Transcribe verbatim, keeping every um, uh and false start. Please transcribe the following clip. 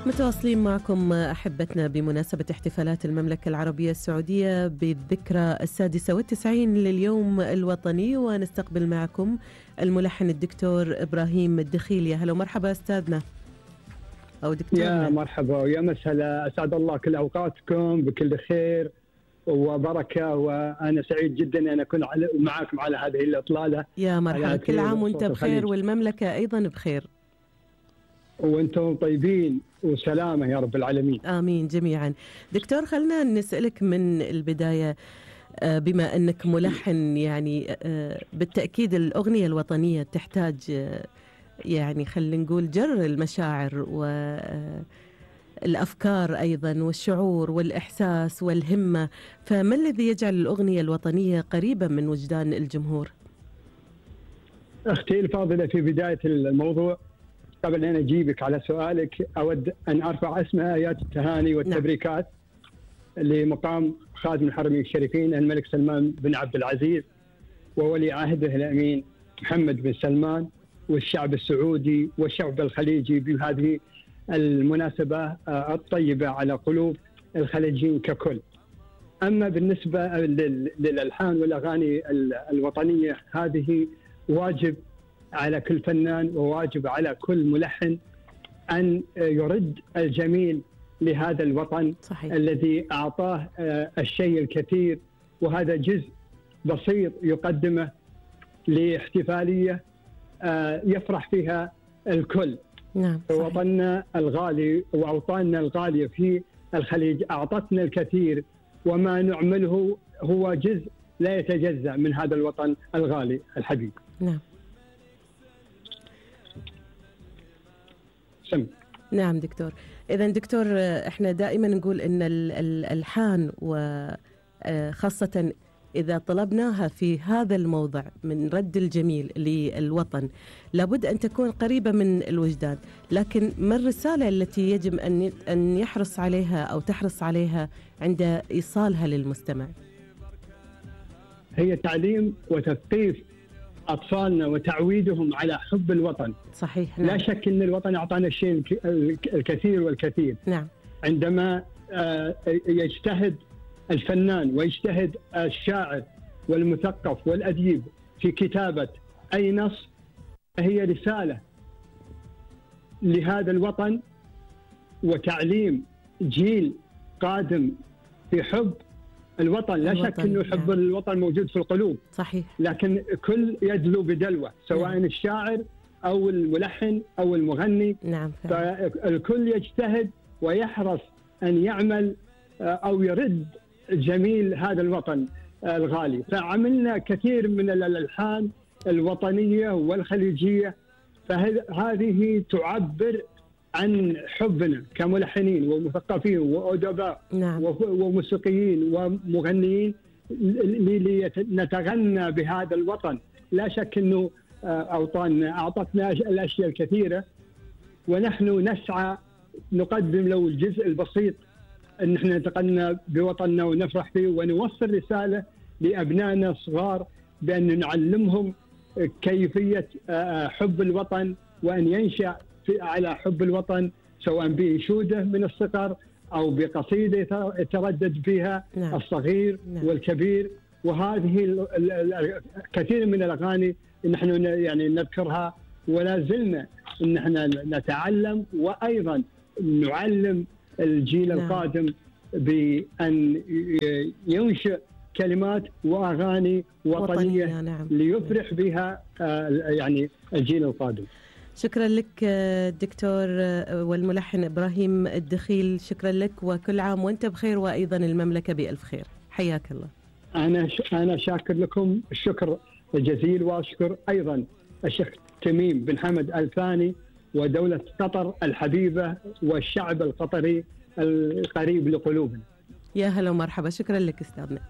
متواصلين معكم أحبتنا بمناسبة احتفالات المملكة العربية السعودية بالذكرى السادسة والتسعين لليوم الوطني، ونستقبل معكم الملحن الدكتور إبراهيم الدخيل. يا هلا ومرحبا أستاذنا أو دكتورنا. يا مرحبا ويا مسهلا، أسعد الله كل أوقاتكم بكل خير وبركة، وأنا سعيد جدا أن أكون معكم على هذه الإطلالة. يا مرحبا، كل عام وأنت بخير والمملكة أيضا بخير وأنتم طيبين وسلامة يا رب العالمين. آمين جميعا. دكتور، خلنا نسألك من البداية، بما أنك ملحن، يعني بالتأكيد الأغنية الوطنية تحتاج يعني خلينا نقول جر المشاعر والأفكار أيضا والشعور والإحساس والهمة، فما الذي يجعل الأغنية الوطنية قريبة من وجدان الجمهور؟ أختي الفاضلة، في بداية الموضوع قبل أن أجيبك على سؤالك أود أن أرفع اسم آيات التهاني والتبريكات نعم. لمقام خادم الحرمين الشريفين الملك سلمان بن عبد العزيز وولي عهده الأمين محمد بن سلمان والشعب السعودي والشعب الخليجي بهذه المناسبة الطيبة على قلوب الخليجيين ككل. أما بالنسبة للألحان والأغاني الوطنية، هذه واجب على كل فنان وواجب على كل ملحن أن يرد الجميل لهذا الوطن صحيح. الذي أعطاه الشيء الكثير، وهذا جزء بسيط يقدمه لاحتفالية يفرح فيها الكل. نعم وطننا الغالي وأوطاننا الغالية في الخليج أعطتنا الكثير، وما نعمله هو جزء لا يتجزأ من هذا الوطن الغالي الحبيب. نعم سم. نعم دكتور. إذن دكتور، إحنا دائما نقول إن الألحان وخاصة إذا طلبناها في هذا الموضع من رد الجميل للوطن لابد أن تكون قريبة من الوجدان، لكن ما الرسالة التي يجب أن أن يحرص عليها أو تحرص عليها عند إيصالها للمستمع؟ هي تعليم وتثقيف أطفالنا وتعويدهم على حب الوطن. صحيح. نعم. لا شك أن الوطن أعطانا الشيء الكثير والكثير. نعم. عندما يجتهد الفنان ويجتهد الشاعر والمثقف والأديب في كتابة أي نص، هي رسالة لهذا الوطن وتعليم جيل قادم في حب الوطن. لا شك أنه حب نعم. الوطن موجود في القلوب صحيح، لكن كل يدلو بدلوه، سواء نعم. الشاعر أو الملحن أو المغني. نعم. فالكل يجتهد ويحرص أن يعمل أو يرد جميل هذا الوطن الغالي. فعملنا كثير من الألحان الوطنية والخليجية، فهذه تعبر عن حبنا كملحنين ومثقفين وأدباء نعم. وموسيقيين ومغنيين لنتغنى بهذا الوطن. لا شك أنه أوطاننا أعطتنا الأشياء الكثيرة، ونحن نسعى نقدم له الجزء البسيط أن احنا نتغنى بوطننا ونفرح فيه، ونوصل رسالة لأبنائنا الصغار بأن نعلمهم كيفية حب الوطن، وأن ينشأ على حب الوطن سواء بإنشودة من الصغر أو بقصيدة يتردد فيها نعم. الصغير نعم. والكبير. وهذه كثير من الأغاني نحن يعني نذكرها، ولا زلنا نحن نتعلم وأيضا نعلم الجيل نعم. القادم بأن ينشئ كلمات وأغاني وطنية, وطنية نعم. ليفرح بها يعني الجيل القادم. شكرا لك دكتور والملحن إبراهيم الدخيل، شكرا لك، وكل عام وأنت بخير وأيضا المملكة بألف خير. حياك الله. أنا أنا شاكر لكم الشكر الجزيل، وأشكر أيضا الشيخ تميم بن حمد آل ثاني ودولة قطر الحبيبة والشعب القطري القريب لقلوبنا. يا هلا ومرحبا، شكرا لك أستاذنا.